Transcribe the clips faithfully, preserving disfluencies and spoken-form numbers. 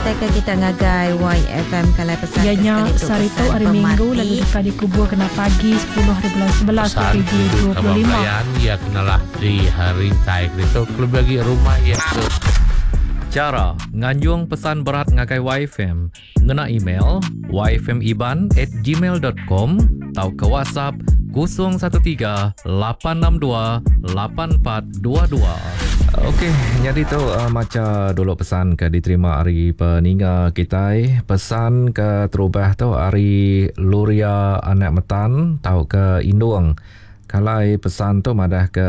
Datai ke kita ngagai Y F M kalai pesan Iya ke nya sekali tu sehari tu pesan hari Minggu pemati. Lalu deka dikubur kena pagi sepuluh hari bulan sebelas Pesan dua ribu itu dua puluh lima. kabar belayan, ia kenalah di rintai itu lebih lagi rumah ia ke Cara nganjung pesan berat ngagai Y F M ngena email y f m iban at gmail dot com atau ke WhatsApp kosong satu tiga lapan enam dua lapan empat dua dua. Okey, jadi tu, uh, maca dulu pesan ke diterima hari peninga kita. Pesan ke terubah tu hari Luria Anak Metan tau ke Indung. Kalai pesan tu madah ke,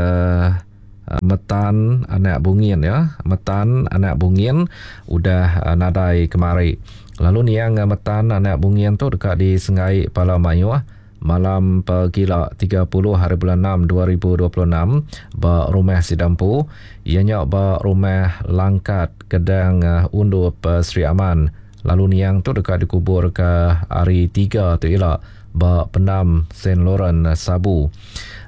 uh, Metan Anak Bungin ya. Metan Anak Bungin udah, uh, nadai kemari. Lalu niang Metan Anak Bungin tu dekat di Sengai Pala Mayuh malam pegila tiga puluh hari bulan enam dua ribu dua puluh enam ba rumah Sidampu, ianya ba rumah Langkat Kedang, uh, Undup, uh, Sri Aman. Lalu niang tu dekat dikubur ke hari tiga tu ila ba Pendam Saint Laurent, uh, Sabu.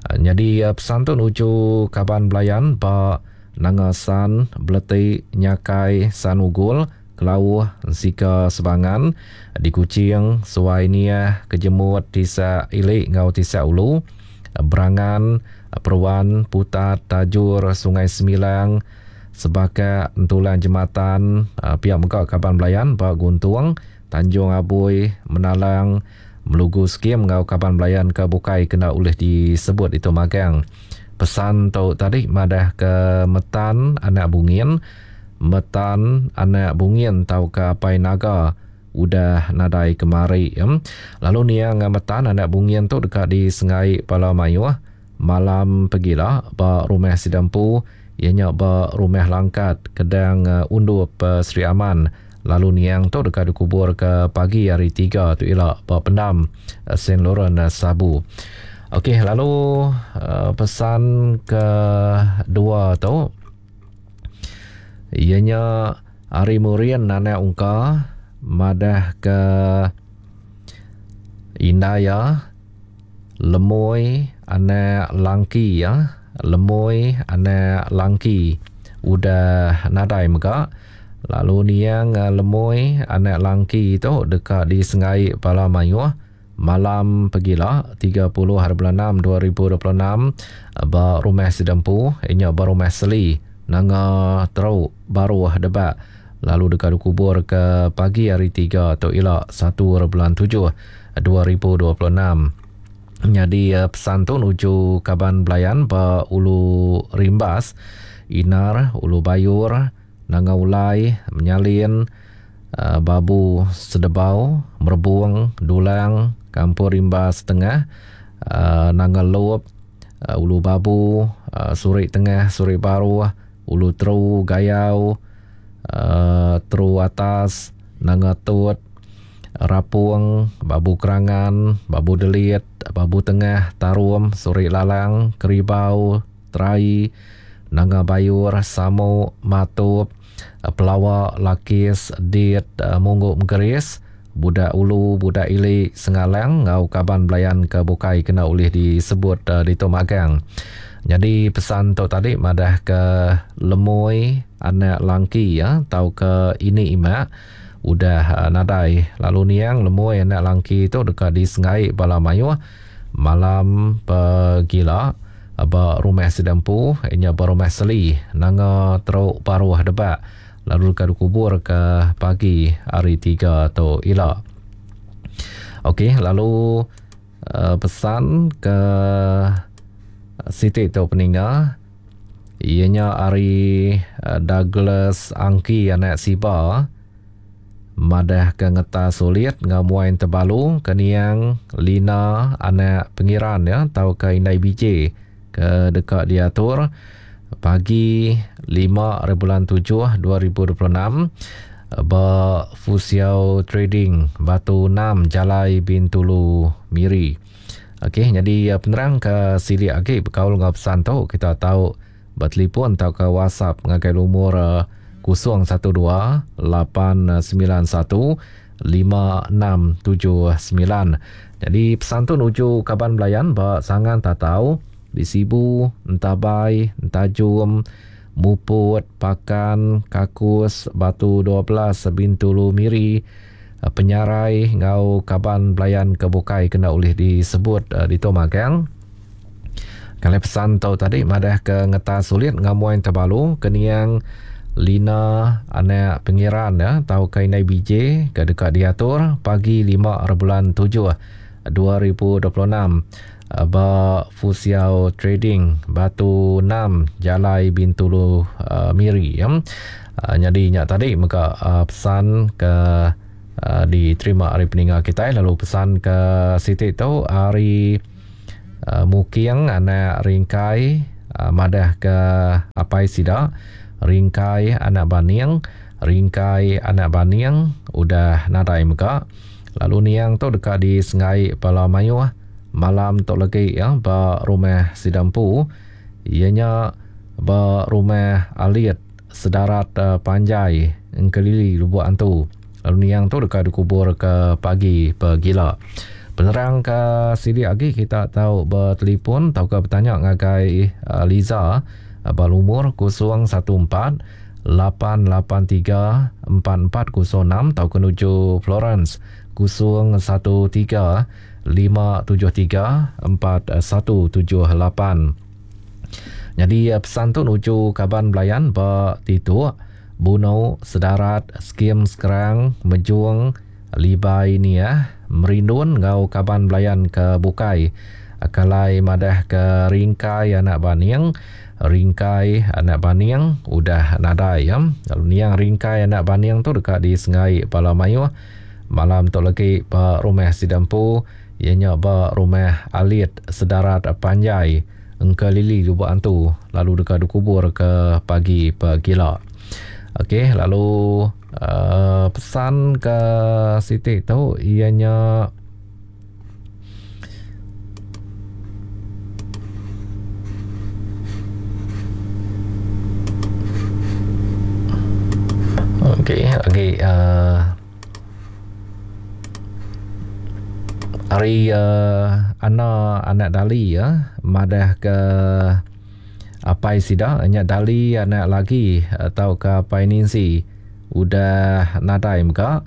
Uh, jadi, uh, pesan tu nuju kaban belayan ba Nangasan, Beleti, Nyakai, Sanugul, Kelauh, Sika Sebangan, di Kuching, Suai Niah, Kejemut, Tisak Ilik ngau Tisak Ulu, Berangan, Peruan, Putat, Tajur, Sungai Semilang, Sebakak, Entulang Jematan, pihak muka kaban belayan ba Guntung, Tanjung Abui, Menalang, Melugu Skim ngau kaban belayan ke bukai kena ulih disebut itu magang. Pesan tu tadi madah ke Metan Anak Bungin, Metan Anak Bungin tau ke Apai Naga udah nadai kemari. Em. Lalu niang Metan Anak Bungin tu dekat di Sengai Pala Mayuh malam pegila ba rumah Sidampu, ianya ba rumah Langkat Kedang, eh, Undup, eh, Sri Aman. Lalu niang tu dekat dikubur ke pagi hari tiga tu ila ba Pendam, eh, Saint Laurent, eh, Sabu. Okey, lalu, eh, pesan kedua tu ianya Ari Murian Anak Ungka madah ke Indaya Lemoi Anak Langki ya. Lemoi Anak Langki udah nadai mega. Lalu niang, eh, Lemoi Anak Langki tu dekat di Sengai Pala Mayuh malam pegila tiga puluh hari bulan enam dua ribu dua puluh enam ba rumah Sidampu, inya ba rumah Seli Nanga Teruk Baruh Debak. Lalu dekat dikubur ke pagi hari tiga tu ila satu hari bulan tujuh dua ribu dua puluh enam. Jadi, eh, pesan tu nuju kaban belayan ba Ulu Rimbas, Inar, Ulu Bayur, Nanga Ulai, Menyalin, eh, Babu Sedebau, Merbung, Dulang, Kampung Rimbas Tengah, eh, Nanga Lop, eh, Ulu Babu, eh, Surik Tengah, Surik Baruh, Ulu Teru, Gayau, eh, Teru Atas, Nanga Tut, Rapung, Babu Kerangan, Babu Delit, Babu Tengah, Tarum, Surik Lalang, Keribau, Terai, Nanga Bayur, Samuk, Matup, Pelawak, Lakis, Dit, eh, Mungguk Mengkeris, Budak Ulu, Budak Ilik, Sengalang, ngau kaban belayan ke bukai kena ulih disebut, eh, di Tomagang. Jadi pesan tu tadi madah ke Lemoi Anak Langki ya, tau ke ini imak udah, eh, nadai. Lalu niang Lemoi Anak Langki tu dekat di Sengai Bala Mayuh malam pegila ba rumah Sidampu, inya ba rumah Seli Nanga Teruk Baruh Debak. Lalu dekat dikubur ke pagi hari tiga tu ila. Okey, lalu, eh, pesan ke Siti tu peninga ianya hari, eh, Douglas Angki Anak Siba madah ke ngeta sulit ngamuain tebalu ke niang Lina Anak Pengiran ya, tau ke Indai B J ke dekat diatur pagi lima hari bulan tujuh dua ribu dua puluh enam ba Fusiao Trading Batu enam Jalai Bintulu Miri. Okey, jadi, eh, penerang ke silik agi berkaul dengan pesan tu kita tahu bertelefon atau ke WhatsApp ngagai lumur, eh, kosong satu dua lapan sembilan satu lima enam tujuh sembilan. Jadi pesan tu nuju kaban belayan ba Sangan Tatau di Sibu, Entabai, Entajum, Muput, Pakan, Kakus, Batu dua belas, Bintulu Miri, Penyarai ngau kaban belayan ke bukai kena ulih disebut uh, di magang. Kalau pesan tau tadi madah ke ngetas sulit ngamuan terbalu keniang Lina anak pengiran ya tau ke inai B J ke dekat diatur pagi lima bulan tujuh dua ribu dua puluh enam ba Fusiao Trading Batu enam Jalai Bintulu uh, Miri ya. Uh, jadi nyak tadi mega uh, pesan ke uh, diterima hari peninggal kita, lalu pesan ke Siti tu hari uh, Muking anak Ringkai uh, madah ke apai sida Ringkai anak Baning, Ringkai anak Baning udah nadai mega. Lalu niang tu dekat di Sengai Pala Mayuh malam tu lagi ya ba rumah Sidampu, ianya ba rumah Alit Sedarat uh, Panjai Engkelili Lubuk Antu. Lalu niang tu dekat dikubur ke pagi pegila. Penerang ke sidik lagi kita tahu bertelefon atau ke bertanya ngagai uh, Liza uh, ba lumur kosong satu empat lapan lapan tiga empat empat kosong enam atau ke nuju Florence kosong satu tiga lima tujuh tiga empat satu tujuh lapan. Jadi pesan tu nuju kaban belayan ba Tituk, Buno, Sedarat, Skim Sekerang, Mejung, Libai ni ya, Merindun ngau kaban belayan ke Bukai. Kalai madah ke Ringkai anak Baning, Ringkai anak Baning udah nadai ya. Lalu niang Ringkai anak Baning tu dekat di Sengai Pala Mayuh. Malam tu lagi ba rumah Sidampu, ianya ba rumah Alit Sedarat Panjai Engkelili Lubuk Antu, lalu dekat dikubur ke pagi pegila. Okey, lalu uh, pesan ke Siti tu ianya okey, okey uh, hari uh, Ana anak Dali ya, madah ke apai sida nya Dali anak lagi atau ke apai Ninsi udah nadai mega.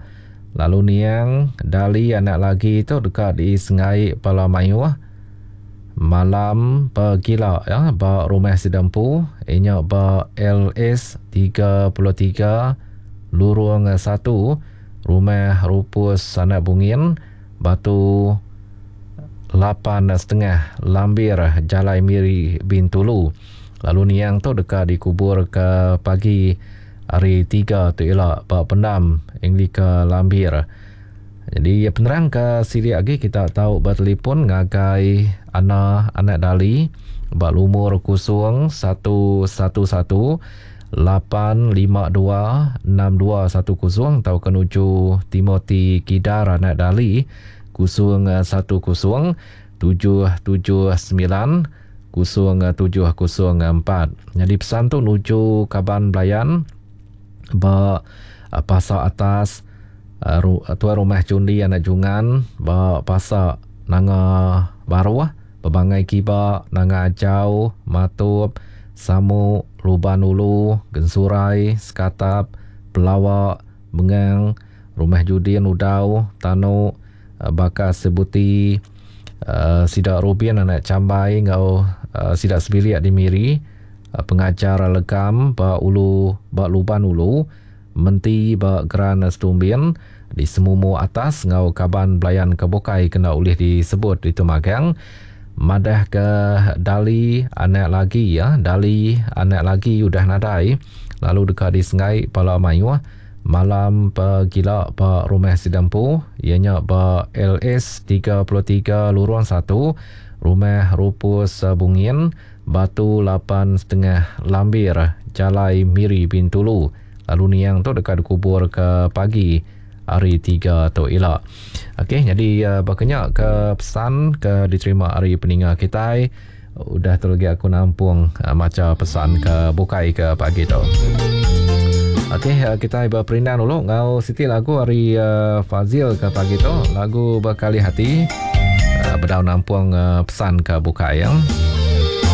Lalu niang Dali anak lagi tu dekat di Sengai Pala Mayuh malam pegila ya ba rumah Sidampu, inya ba L S tiga puluh tiga Lurung satu Rumah Rupus Anak Bungin Batu lapan setengah Lambir Jalai Miri Bintulu. Lalu niang tu dekat dikubur ke pagi hari tiga tu ialah Pak Pendam Anglika Lambir. Jadi penerang ke sidik lagi kita tahu bertelefon ngagai Ana anak Dali bak lumur kosong satu satu satu lapan lima dua enam dua satu kosong atau kenuju Timothy Kidar anak Dali kosong satu kosong tujuh tujuh sembilan kosong tujuh kosong empat. Jadi pesan tu nuju kaban belayan ba pasar atas tuan rumah Cundi anak Jungan ba pasar Nanga Baruah Pebangai Kiba Nanga Ajau Matup Samuk Luban Ulu Gensurai Sekatap Pelawak Mengang Rumah Judin Udau Tanuk Bakas Sebuti uh, Sidak Rubin anak Cambai ngau uh, Sidak Sebiliak di Miri, uh, pengajar Legam ba Ulu ba Luban Ulu Menti ba Geran Setumbin di Semumu Atas ngau kaban belayan kebukai kena ulih disebut di Tumagang. Madah ke Dali anak lagi ya, Dali anak lagi udah nadai lalu dekat di Sengai Pala Mayuh malam pegila ba rumah Sidampu ianya ba L S tiga puluh tiga Lurung satu Rumah Rupus Bungin Batu lapan setengah Lambir Jalai Miri Bintulu. Lalu niang tu dekat dikubur ke pagi hari tiga tu ila. Okey, jadi uh, bakanya ke pesan ke diterima hari peninga kita. Udah tu lagi aku nampung uh, maca pesan ke bukai ke pagi tu. Okey, uh, kita berperindang dulu ngau Siti lagu hari uh, Fazil ke pagi tu, lagu Berkali Hati. Uh, bedau nampung uh, pesan ke bukai ya.